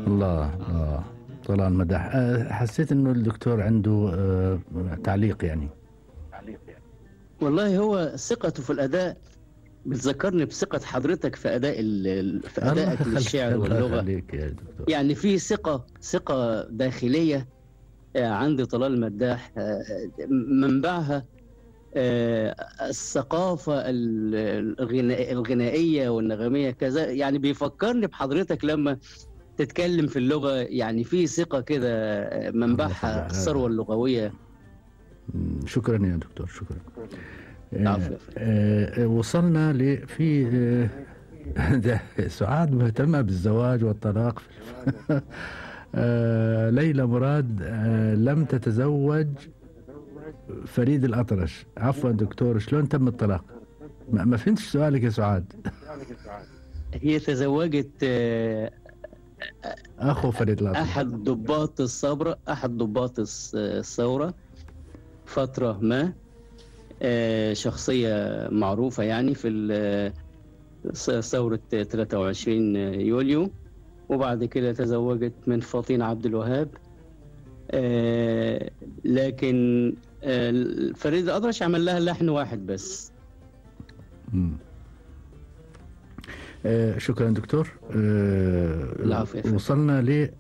الله طلال مدح. حسيت انه الدكتور عنده تعليق يعني. والله هو ثقته في الأداء بتذكرني بثقة حضرتك في أداء في أدائك للشعر الله واللغة. يخليك يا دكتور. يعني في ثقة داخلية عند طلال مداح، منبعها الثقافة الغنائية والنغمية كذا. يعني بيفكرني بحضرتك لما تتكلم في اللغة، يعني في ثقة كده منبعها الثروة اللغوية. شكرا يا دكتور، شكرا. العفو. وصلنا في سعاد مهتمة بالزواج والطلاق. ليلى مراد لم تتزوج فريد الأطرش. عفوا دكتور، شلون تم الطلاق؟ ما فهمتش سؤالك يا سعاد. هي تزوجت أخو فريد الأطرش، أحد ضباط الثورة فترة ما، شخصية معروفة يعني في ثورة 23 يوليو. وبعد كده تزوجت من فاطين عبد الوهاب. لكن فريد الأطرش عمل لها لحن واحد بس. شكرا دكتور. العفو. وصلنا